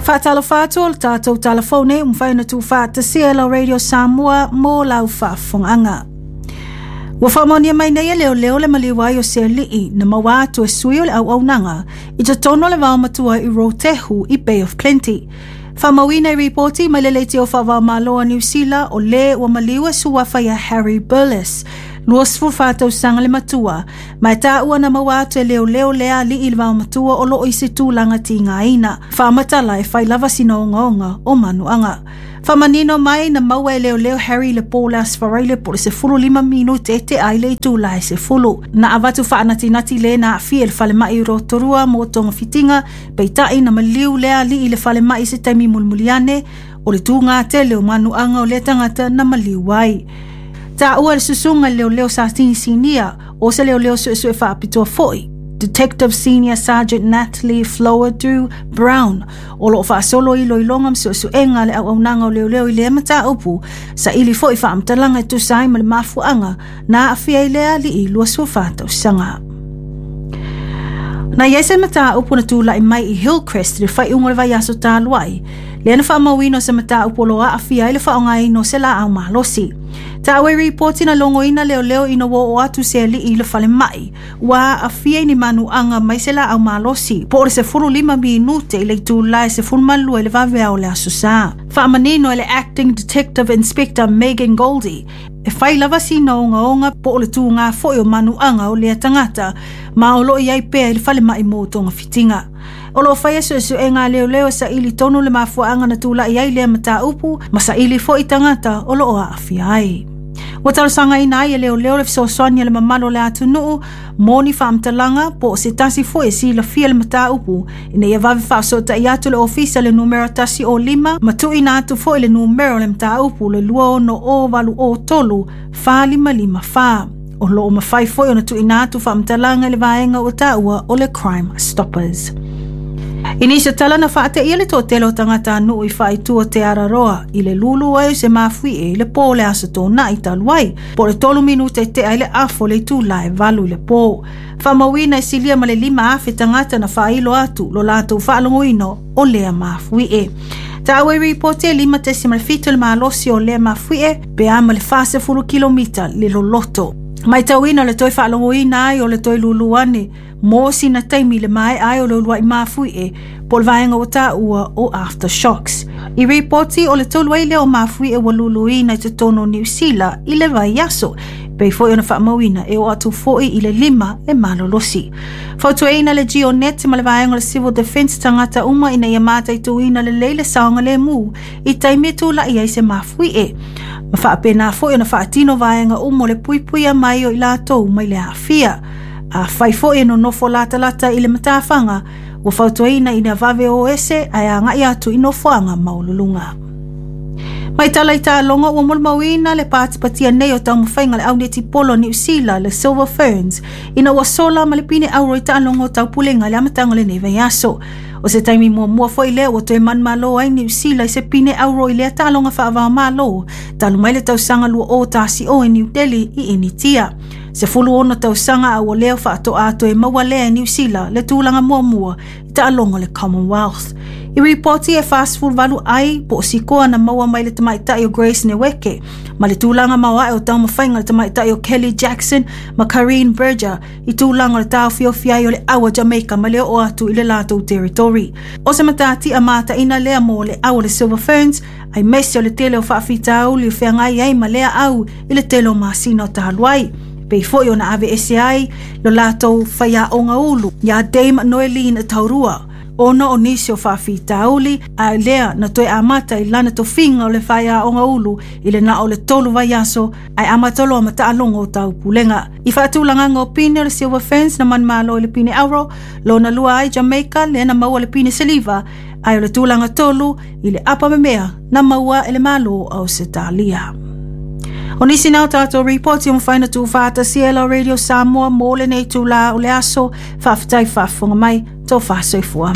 Faatalofa atu o le tatou talafou nei ua mafai ona tuufaatasia e lau Radio Samoa mo lau faafofogaaga. Ua faamaonia mai nei e leoleo le maliu ai o se alii na maua atu e sui o le auaunaga i totonu o le vaomatua i Rotehu i Bay of Plenty. Faamauina i ripoti mai le leitio faava-o-Malo a Niu Sila o le ua maliu e suafa ia Harry Burles, 24 tausaga le matua, ma e taua na maua atu e leoleo lea alii i le vaomatua o loo i se tulaga tigaina. Faamatala e fai lava sina ogaoga o manuaga. Faamanino mai na maua e leoleo Harry le po o le Aso Faraile po o le 15 minute e tea ai le itula e 10. Na avatu faanatinati le na aafia i le falemai i Rotorua mo togafitiga, peitai na maliu lea alii i le falemai i se taimi mulimuli ane o le tūgā tele o manuaga o lea tagata na maliu ai. Taua e le susuga i le leoleo Satini Sinia o se leoleo suesue faapitoa foi, Detective Senior Sergeant Natalie Flowerdew Brown, o loo faasolo iloiloga ma suesuega a le auaunaga o leoleo i lea mataupu, saili foi faamatalaga e tusa ai ma le mafuaaga na aafia ai lea alii 24 tausaga. Na i ai se mataupu na tulai mai i Hillcrest i le faaiuga o le vaiaso talu ai, lea na faamauina o se mataupu o lo o aafia ai le faaaogaina o se laau malosi. Taua i ripoti na logoina leoleo ina ua oo atu se alii i le falemai, ua aafia i ni manuaga mai se laau malosi po o le 15 minute i le itula e 12 i le vaveao o le Aso Sa. Faamanino e le Acting Detective Inspector Megan Goldie, e fai lava sina ogaoga po o le tūgā foi o manuaga o lea tagata, ma o loo i ai pea i le falemai mo togafitiga. O loo faia suesuega a leoleo e saili tonu le mafuaaga na tulai ai lea mataupu ma saili foi tagata o loo aafia ai. Ua talosagaina ai e leoleo le fesoasoani a le mamalu o le atunuu mo ni faamatalaga po o se tasi foi e silafia le mataupu ina ia vave faafesootai atu le ofisa i le numera 105 ma tuuina atu foi le numera o le mataupu le 260 803 4554. O loo mafai foi ona tuuina atu faamatalaga i le vaega ua taua o le Crime Stoppers. I nisi o tala na faateia le toatele o tagatanuu i faaitu o Te Araroa i le lulu ai o se mafuie i le po o le Aso Toonai talu ai, po o le 3 minute e tea ai le afa o le itula e 8 i le po. Faamauina e silia ma le 5,000 tagata na faailo atu lo latou faalogoina o lea mafuie. Taua i ripoti e 5.7 le malosi o lea mafuie pe a ma le 40 kilomita le loloto. Maitauina le toe faalogoina ai o le toe lulu ane mo sina taimi le maea ai o le uluai mafuie po o le vaega ua taua o aftershocks. I ripoti o le tolu ai lea o mafuie ua luluina i totonu o Niu Sila i le vaiaso, pei foi ona faamauina e oo atu foi i le 5 le malolosi. Fautuaina le GeoNet ma le vaega o le Civil Defence tagata uma ina ia mataituina lelei le saogalemu i taimi e tulai ai se mafuie, ma faapena foi ona faatino vaega uma o le puipuia mai o i latou mai le aafia. Afai foi e nonofo latalata i le matafaga, ua fautuaina ina vave o ese ae agai atu i nofoaga maualuluga. Mai tala i taaloga ua molimauina le patipatia nei o taumafaiga a le au netipolo a Niu Sila, le Silver Ferns, ina ua sola ma le pine auro i taaloga o taupulega i le amataga o lenei vaiaso. O se taimi muamua foi lea ua toe manumalo ai Niu Sila i se pine auro i lea taaloga faava-o-Malo talu mai le tausaga 2010 i New Delhi i Initia. 16 tausaga a ua leo faatoa toe maua lea e Niu Sila le tulaga muamua i taaloga o le Commonwealth. I ripoti e 48 ai po o sikoa na maua mai le tamaitai o Grace Nweke ma le tulaga maoae o taumafaiga le tamaitai o Kelly Jackson ma Karine Berger i tulaga o le taofiofi ai o le au a Jamaica ma le oo atu i le latou territory. O se matatia mataina lea mo le au o le Silver Ferns aemaise o le tele o faafitauli o feagai ai ma lea au i le tele o masina o talu ai. Pei foi ona aveese ai lo latou faiaoga ulu iā Dame Noeline Taurua, ona o nisi o faafitauli, a lea na toe amata i lana tofiga o le faiaoga ulu i le na o le 3 vaiaso ae amata loa ma taaloga o taupulega. I faatulagaga o pine o le Silver Ferns na manumalo i le pine auro, lona lua ai Jamaica lea na maua le pine siliva, ae o le tulaga tolu i le apa memea na maua e le Malo o Ausetalia. O nisi na o tātou ripoti o mawhai na tū whātasia e la Radio Samoa mō lenei tūlā o le aso, faafetai faafofoga mai, tō whāsoifua.